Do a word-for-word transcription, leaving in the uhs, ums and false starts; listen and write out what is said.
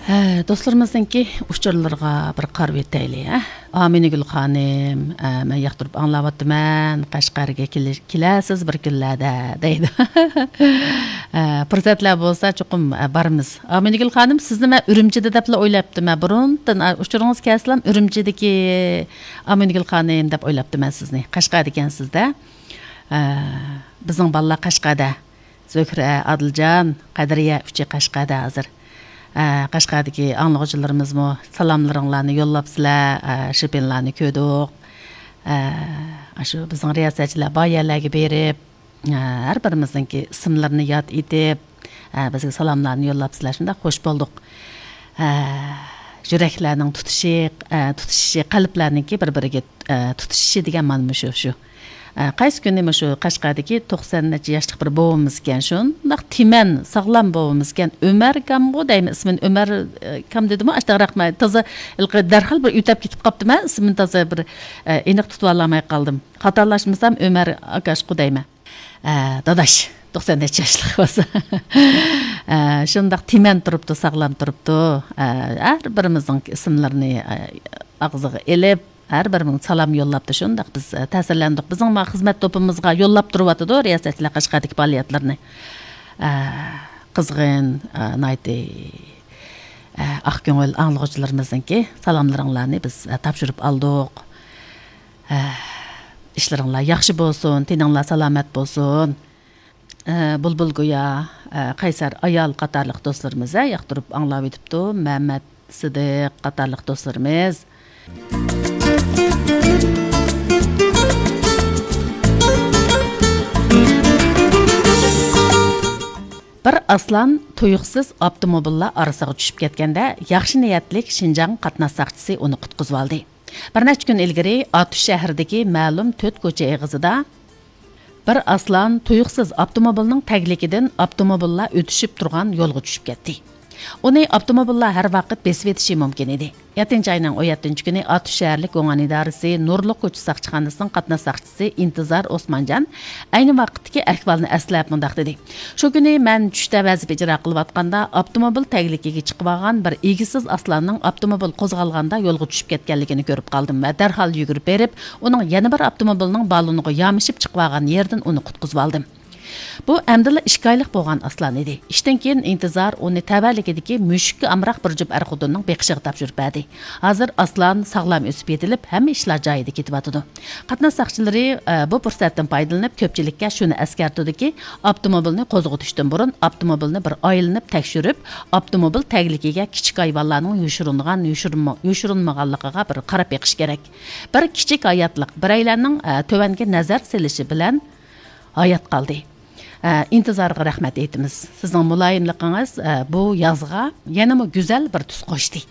ئە، دوستلىرىمىزنىڭكى ئۇچۇرلىرىغا بىر قارىۋېتەيلى، ھە؟ ئامىنىگۈل خانىم، ئە، مەن ياقتۇرۇپ ئاڭلاۋاتىمەن، قەشقەرگە كېلىش-، كېلەرسىز بىر كۈنلەردە، دەيدۇ. ئە، پۇرسەتلەر بولسا چوقۇم، ئە، بارىمىز. ئامىنىگۈل خانىم، سىزنى مەن ئۈرۈمچىدە دەپلا ئويلاپتىم، ھە، بۇرۇندىن، ئە، ئۇچۇرىڭىز كەلسىلا ئۈرۈمچىدىكى ئامىنىگۈل خانىم دەپ ئويلاپتىمەن سىزنى. قەشقەردىكەنسىز-دە. ئە، بىزنىڭ بالىلار قەشقەردە. زۆھرە، ئادىلجان، قەدرىيە ئۈچى قەشقەردە ھازىر. ئە، قەشقەردىكى ئاڭلىغۇچىلىرىمىزمۇ سالاملىرىڭلارنى يوللاپسىلەر، ئە، شىپىنلارنى كۆردۇق. ئە، ئاشۇ بىزنىڭ رىياسەتچىلەر بار يەرلەرگە بېرىپ، ئە، ھەر بىرىمىزنىڭكى ئىسىملىرىنى ياد ئېتىپ، ئە، بىزگە سالاملارنى يوللاپسىلەر، شۇنداق خوش بولدۇق. ئە، يۈرەكلەرنىڭ تۇتۇشى، ئە، تۇتىشىشى، قەلبلەرنىڭكى بىر-بىرىگە، ئە، تۇتىشىشى دېگەن مانا مۇشۇ، شۇ. ئە، قايسى كۈنى مۇشۇ قەشقەردىكى توقسان نەچچە ياشلىق بىر بوۋىمىزكەن، شۇنداق تىمەن، ساغلام بوۋىمىزكەن، ئۆمەر كامغۇ دەيمەن ئىسمىنى، ئۆمەر، ئە، كام دېدىمۇ، ئاشتاق رەقمە، تازا ھېلىقى دەرھال بىر ئۆتەپ كېتىپ قاپتىمەن، ئىسمىنى تازا بىر، ئە، ئېنىق تۇتۇۋالالماي قالدىم. خاتالاشمىسام ئۆمەر ئاكاشقۇ دەيمەن. ئە، داداش، توقسان نەچچە ياشلىق بولسا. ئە، شۇنداق تىمەن تۇرۇپتۇ، ساغلام تۇرۇپتۇ. ئە، ھەر بىرىمىزنىڭ ئىسىملىرىنى، ئە، ئاغزىغا ئېلىپ، ھەر بىرىمىزگە سالام يوللاپتۇ. شۇنداق بىز، ئە، تەسىرلەندۇق. بىزنىڭ ما خىزمەت توپىمىزغا يوللاپ تۇرۇۋاتىدۇ رىياسەتچىلەر قەشقەردىكى پائالىيەتلىرىنى. ئە، قىزغىن، ئە، ناھايىتى، ئە، ئاق كۆڭۈل ئاڭلىغۇچىلىرىمىزنىڭكى سالاملىرىڭلارنى بىز، ئە، تاپشۇرۇپ ئالدۇق. ئىشلىرىڭلار ياخشى بولسۇن، تېنىڭلار سالامەت بولسۇن. بۇلبۇل گويا، قەيسەر ئايال قاتارلىق دوستلىرىمىز ياقتۇرۇپ ئاڭلاۋېتىپتۇ. مەمەت سىدىق قاتارلىق دوستلىرىمىز. بىر ئاسلان تۇيۇقسىز ئاپتوموبىللار ئارىسىغا چۈشۈپ كەتكەندە، ياخشى نىيەتلىك شىنجاڭ قاتناش ساقچىسى ئۇنى قۇتقۇزۇۋالدى. بىر نەچچە كۈن ئىلگىرى ئاتۇش شەھىرىدىكى مەلۇم تۆت كوچا ئېغىزىدا بىر ئاسلان تۇيۇقسىز ئاپتوموبىلنىڭ تەگلىكىدىن ئاپتوموبىللار ئۆتۈشۈپ تۇرغان يولغا چۈشۈپ كەتتى. ئۇنى ئاپتوموبىللار ھەر ۋاقىت بېسىۋېتىشى مۇمكىن ئىدى. يەتتىنچى ئاينىڭ ئون يەتتىنچى كۈنى ئاتۇش شەھەرلىك گۇڭئەن ئىدارىسى نۇرلۇق كوچا ساقچىخانىسىنىڭ قاتناش ساقچىسى ئىنتىزار ئوسمانجان ئەينى ۋاقىتتىكى ئەھۋالنى ئەسلەپ مۇنداق دېدى: شۇ كۈنى مەن چۈشتە ۋەزىپە ئىجرا قىلىۋاتقاندا، ئاپتوموبىل تەگلىكىگە چىقىۋالغان بىر ئىگىسىز ئاسلاننىڭ ئاپتوموبىل قوزغالغاندا يولغا چۈشۈپ كەتكەنلىكىنى كۆرۈپ قالدىم ۋە دەرھال يۈگۈرۈپ بېرىپ، ئۇنىڭ يەنە بىر ئاپتوموبىلنىڭ بالونىغا يامىشىپ چىقىۋالغان يېرىدىن ئۇنى قۇتقۇزۇۋالدىم. بۇ ئەمدىلا ئىككى ئايلىق بولغان ئاسلان ئىدى. ئىشتىن كېيىن ئىنتىزار ئۇنى تەۋەلىكىدىكى مۈشۈككە ئامراق بىر جۈپ ئەر-خوتۇننىڭ بېقىشىغا تاپشۇرۇپ بەردى. ھازىر ئاسلان ساغلام ئۆسۈپ يېتىلىپ، ھەممە ئىشلار جايىدا كېتىۋاتىدۇ. قاتناش ساقچىلىرى، ئە، بۇ پۇرسەتتىن پايدىلىنىپ، كۆپچىلىككە شۇنى ئەسكەرتىدۇكى، ئاپتوموبىلنى قوزغىتىشتىن بۇرۇن ئاپتوموبىلنى بىر ئايلىنىپ تەكشۈرۈپ، ئاپتوموبىل تەگلىكىگە كىچىك ھايۋانلارنىڭ يوشۇرۇنغان، يوشۇرۇنما-، يوشۇرۇنمىغانلىقىغا بىر قاراپ بېقىش كېرەك. بىر كىچىك ھاياتلىق بىرەيلەننىڭ، ئە، تۆۋەنگە نەزەر سېلىشى بىلەن ھايات قالدى. ئە، ئىنتىزارغا رەھمەت ئېيتىمىز. سىزنىڭ مۇلايىملىقىڭىز، ئە، بۇ يازغا يەنىمۇ گۈزەل بىر تۈس قوشتى.